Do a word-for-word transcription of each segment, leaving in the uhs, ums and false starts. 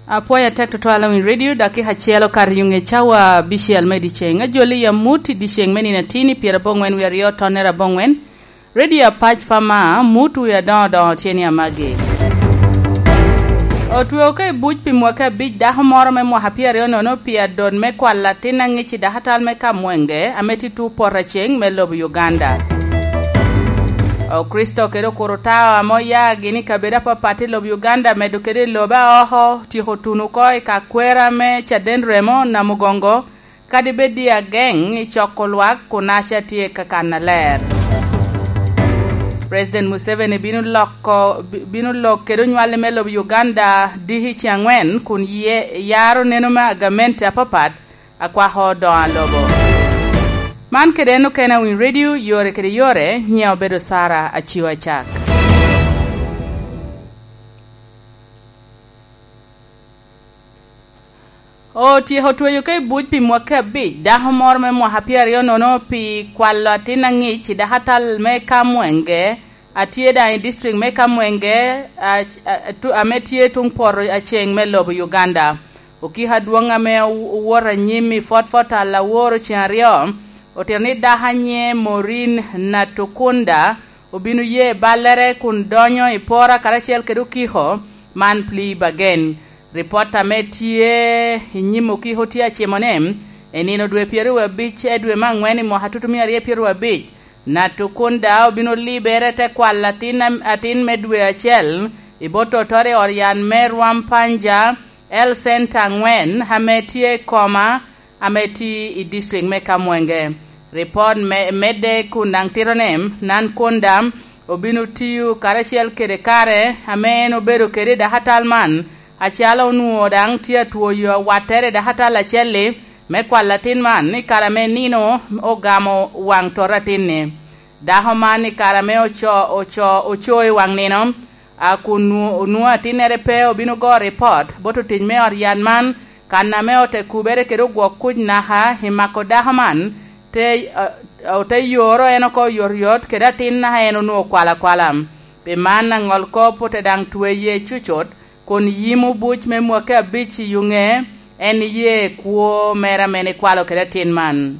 Apwoyo atek tutwal i Radio, dakika acel okato i ŋe cawa abicel me dyeceŋ. Ajoli i amut i dyeceŋ me nino atin i pyerabongwen wie aryo tonnere abongwen. Radio Apac Pama, amut wie adoŋo doŋo tye ni amagi. Otweo ka i buc pi mwaki abic dako moro me mwaka pyeraryo nono pi adot me kwalo atin aŋic i dakatal me Kamwenge, ame tye tu poto aceŋ me lobo Uganda. Okricito kede Okurutao ame oya gin i kabedo apapat i lobo Uganda, medo kede i lobe aoko, tyeko tuno oko i ka kwera me caden remo Namugongo, kadi bed i ageŋ i coko lwak kun aca tye ka kan aler. President Museveni bino loko, bi-, bino lok kede onywali me lobo Uganda diki ce angwen kun ye, yaro neno me agamente apapat akwako doŋo a lobo. Man kede en okene a Winy Radio, yore kede yore, nyiŋa obedo Sara Aciwa Acak. Otyeko tweyo ka i buc pi mwaki abic dako moro me mwaka pyeraryo nono pi kwalo atin aŋic i dakatal me Kamwenge, a tye daŋ i district me Kamwenge, a, a, tu-, ame tye tuŋ poto aceŋ me lobo Uganda. Okiko adwoŋ ame ow-, owoto anyim i fotfot al aworo ceŋ aryo, otito ni dako a nyiŋe Maureen Natukunda obino ye ballere kun donyo i pora karacel kede okiko man Plea Bargain. Ripot ame tye i nyim okiko tye acimo ni, i nino dwe pyeraryo abic e dwe me angwen i mwaka tutumia aryo pyeraryo abic, Natukunda obino libere te kwalo atin am-, atin me dwe acel i bot totoro i ot yat me Rwampanja Health Center angwen ame tye i Koma, ame tye i district me Kamwenge. Ripot me, medde kun daŋ tito ni, Natukunda obino tiyo karacel kede kare ame en obedo kede i dakatal man, acalo onwoŋo daŋ tye atwoyo awattere i dakatal acel-li me kwalo atin man, ni kare ame nino ogamo waŋ toto atin-ni. Dako man i kare ame oco-, oco-, oco i waŋ nino, a kun nwo-, onwoŋo atinnere pe, obino go ripot bot otic me ot yat man, kan ame ote kubere kede ogwok kuc naka i mako dako man, te, a, ote yoro en oko oyotoyot kede atin naka en onwoŋo okwalo akwala. Pi man, aŋol kop ote daŋ tweye cucut, kun yimo buc me mwaki abic i yuŋe, en iye kwo mere ame en ikwalo kede atin man.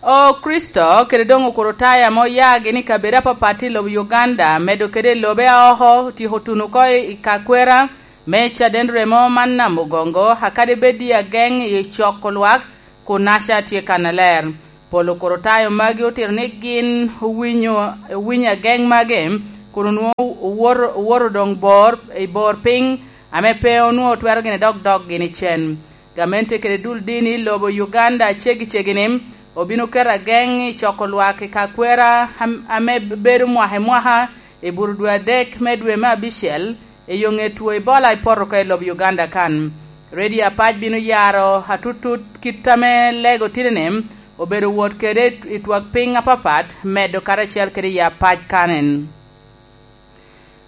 Okricito kede doŋ Okricitayo ame oya gin i kabedo apapat i lobo Uganda, medo kede i lobe aoko, otyeko tuno oko i, i ka kwera me caden remo man Namugongo, akadi bed i ageŋ i coko lwak kun aca tye kannaler. Pol Okricitayo magi otito ni gin owinyo, owinyo ageŋ magi, kun onwoŋo owoto, owoto doŋ bor, i bor piny ame pe onwoŋo twero gin dok dok gin i cen. Gamente kede dul dini i lobo Uganda ceggi ceggi ni obino keto ageŋ i coko lwak i ka kwera am-, ame bedo mwaka i mwaka i bur dwe adek me dwe me abicel, i yo ŋe two Ebola i poto oko i lobo Uganda kan. Radio Apac bino yaro atutut kit ame lego titini obedo wot kede i twak piny apapat, medo karacel kede i Apac kanen.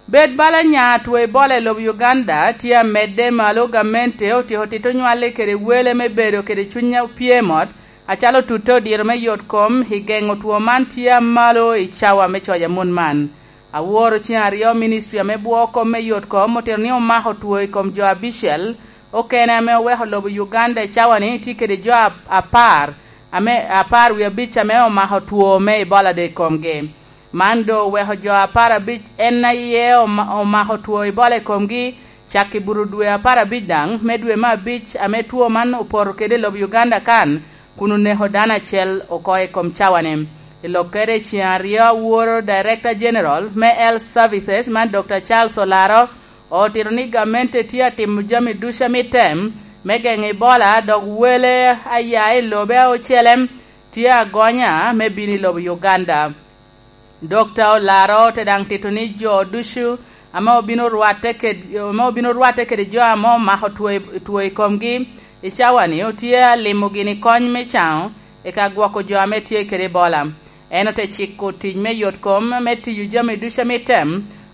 Bed bala nya two Ebola i lobo Uganda tye amedde malo, gamente otyeko tito nywale kede wele me bedo kede cuny opye mot, acalo tutte odiro me yot kom i geŋo two man tye amalo i cawa me coc amut man. Aworo ceŋ aryo, ministri ame bwoo kom me yot kom otito ni omako two i kom jo abicel okene ame oweko lobo Uganda i cawa-ni tye kede jo ap-, apar, ame apar wie abic ame omako two me Ebola doŋ i komgi. Man doŋ oweko jo apar abic en aye oma-, omako two Ebola i komgi, cak i bur dwe apar abic daŋ me dwe me abic ame two man opoto kede i lobo Uganda kan, kun oneko dano acel oko i kom cawa-ni. I lokkere i ceŋ aryo, aworo Director General me Health Services man Doctor Charles Olaro otito ni gamente tye atimo jami ducu a mitte me geŋo Ebola, dok wele aya i lobe ocele tye agonya me bino i lobo Uganda. Dokta Olaro te daŋ tito ni jo ducu ame obino rwatte ked-, ame obino rwatte kede jo ame omako two i, two i komgi i cawa-ni, otye alimo gini kony me caŋo i ka gwoko jo ame tye kede Ebola. En ote ciko tic me yot kom me tiyo jami ducu a mitte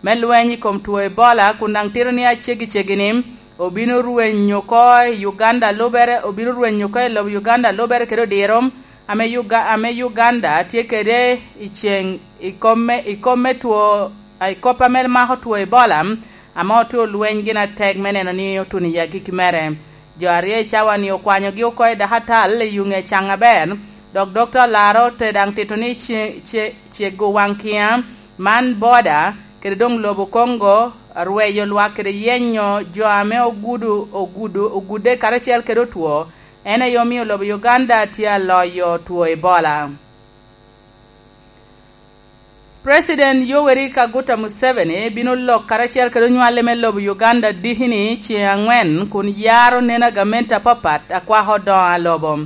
me lweny i kom two Ebola, kun daŋ tito ni aceggi ceggi-ni obino rweny oko i Uganda lubere, obino rweny oko i lobo Uganda lubere kede odiro ame Uga-, ame Uganda tye kede i ceŋ i kom me, i kom me two, i kop ame mako two Ebola, ame otye olweny gin atek me neno ni otuno i agikki mere. Jo aryo i cawa-ni okwanyogi oko i dakatal i yuŋ ecaŋ aber, dok Dokta Olaro te daŋ tito ni ce-, ce-, cego waŋ kiŋa man boda kede doŋ lobo Kongo, rweyo lwak kede yenyo jo ame ogudo, ogudo, ogudde karacel kede otwo, en aye omio lobo Uganda tye aloyo two Ebola. President Yoweri Kaguta Museveni bino lok karacel kede onywale me lobo Uganda diki-ni ceŋ aŋwen kun yaro neno a gamente apapat a kwako odoŋo a lobo.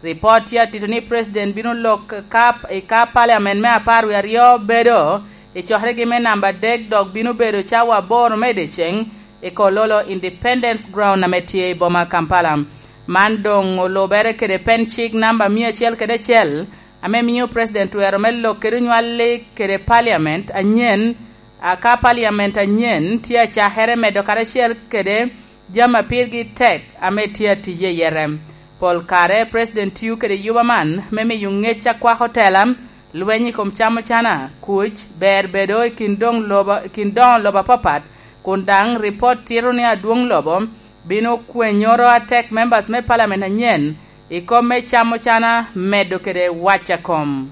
Ripot tye atito ni President bino lok ka, i ka Parliament me apar wie aryo bedo i cokeregi me namba adek, dok bino bedo cawa aboro me dyeceŋ i Kololo Independence Ground ame tye i boma Kampala. Man doŋ olubere kede pen cik namba mia acel kede acel, ame mio President twero me lok kede onywalli kede Parliament anyen, a ka Parliament anyen tye acakere medo karacel kede jami a pirgi tek ame tye atye i yere. Pol kare President tio kede yuba man me miyo ŋec a kwako tela, lweny i kom camo cana, kuc, ber bedo i kin doŋ lobo, i kin doŋo lobo apapat, kun daŋ ripot tito ni adwoŋ lobo bino kwenyoro atek members me Parliament anyen i kom me camo cana medo kede wac a kom.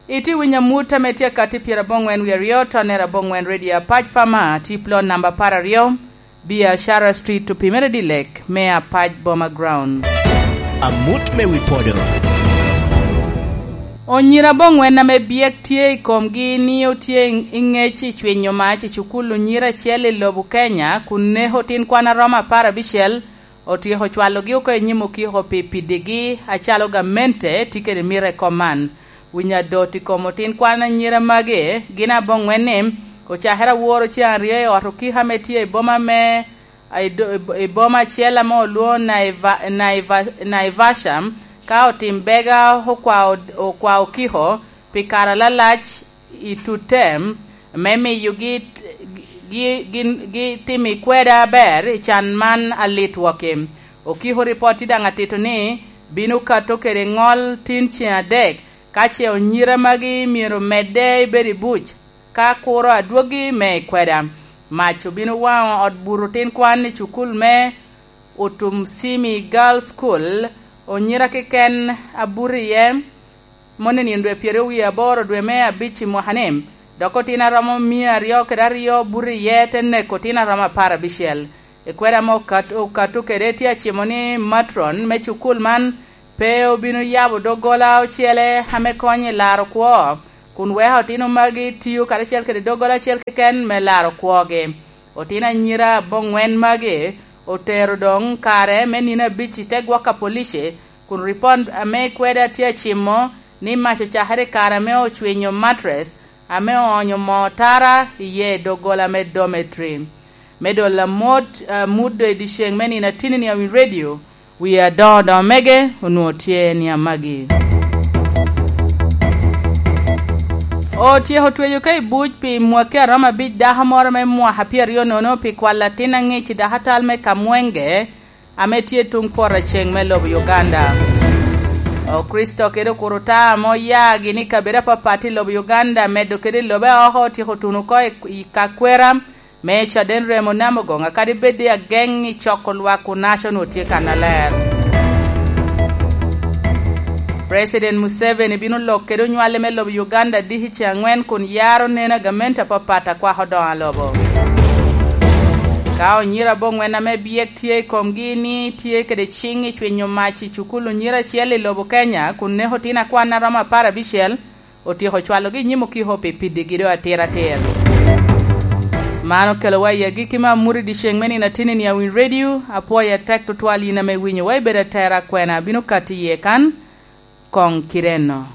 Itye winyo amut ame tye akatti pyeraboŋwen wie aryo, tonnere aboŋwen, Radio Apac Fama, tye i plot namba apar aryo, Biashara Street, opimere dilek me Apac Boma Ground. Amut me wi podo. Onyira aboŋwen ame byek tye i komgi ni otye i ŋec i cwinyo mac i cukul onyira acel i lobo Kenya, kun neko tin kwan aromo apar abicel, otyeko cwalogi oko i nyim okiko pi piddigi acalo gamente tye kede mito i kom man. Winyo adot i kom otin kwan anyira magi gin aboŋwen ni, ocakere aworo ceŋ aryo i ot okiko ame tye i boma me, i do-, i boma acel ame olwoŋo Naiva-, Naiva-, Naivasha, ka otim bega okwa od-, okwa okiko pi kare alalac i tutem me miyogi t-, gi, gi, gi timo i kweda aber i can man alit wok-ki. Okiko ripot tye daŋ atito ni bino kato kede ŋol tin ceŋ adek, ka ce onyira magi myero medde i bedo i buc, ka kuro adwogi me i kweda. Mac obino waŋo ot buto tin kwan i cukul me Utum Simi Girls School, onyira keken abuto iye, moni nino dwe pyeraryo wie aboro dwe me abic i mwaka-ni, dok otino aromo mia aryo kede aryo buto iye te neko otino aromo apar abicel. I kweda ame okat-, okato kede tye acimo ni matron me cukul man pe obino yabo doggola ocele ame konyo i laro kwo, kun weko otino magi tio karacel kede doggola acel keken me laro kwogi. Otino anyira aboŋwen magi otero doŋ kare me nino abic i te gwok a police, kun ripot ame kweda tye acimo ni mac ocakere i kare ame ocwinyo matres ame oonyo moo tara iye i doggola me dormitory. Me dolo amot, amut i dyeceŋ me nino atinni a wi radio, wie adoŋo doŋo mege onwoŋo tye ni amagi. Otyeko tweyo ka i buc pi mwaki aromo abic dako moro me mwaka pyeraryo nono pi kwalo atin aŋic i dakatal me Kamwenge ame tye tuŋ poto ceŋ me lobo Uganda. Okricito kede okuruta ame oya gin i kabedo apapat i lobo Uganda medo kede lobe oko otyeko tuno oko i, i ka kwera me caden remo Namugonga, kadi bed i ageŋ i coko lwak Onaco onwoŋo tye kannaler. President Museveni bino lok kede onywale me lobo Uganda diki ceŋ aŋwen kun yaro neno a gamente apapat a kwako doŋo a lobo. Ka onyira aboŋwen ame byek tye i komgi ni tye kede ciŋ i cwinyo mac i cukul onyira acel i lobo Kenya kun neko tin akwan a romo apar abicel, otyeko cwalogi i nyim okiko pi piddigi do atir atir. Man okelowa i agikki me amut i dyeceŋ me nino atinni a Winy Radio. Apwoyo atek tutwal yin ame iwinyowa, ibedo atera akwena abino katti iye kan, koŋ kite enno.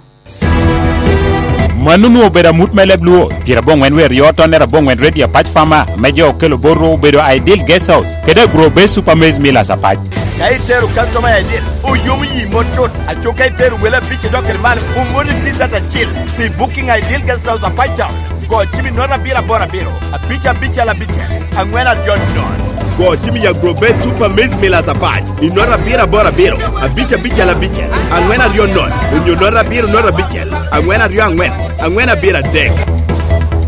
Mano onwoŋo obedo amut me leb Luo, pyeraboŋwen wie aryo tonnere aboŋwen Radio Apac Fama, me jo okelo bot ru obedo Ideal Guest House, kede Agro Base Super Maize Millers Apac. Ka itero customer I D, oyomo yi mot tut. Aco ka itero wele abic idok kede malo, omoni T-shirt acil pi booking Ideal Guest House Apac Town. Go cim i note abiro aboro abiro, abic abicel abicel, aŋwen aryo nono. Go cim i Agro Base Super Maize Millers Apac i note abiro aboro abiro, abic abicel abicel, aŋwen aryo nono, onyo note abiro note abicel, aŋwen aryo aŋwen, aŋwen abiro adek.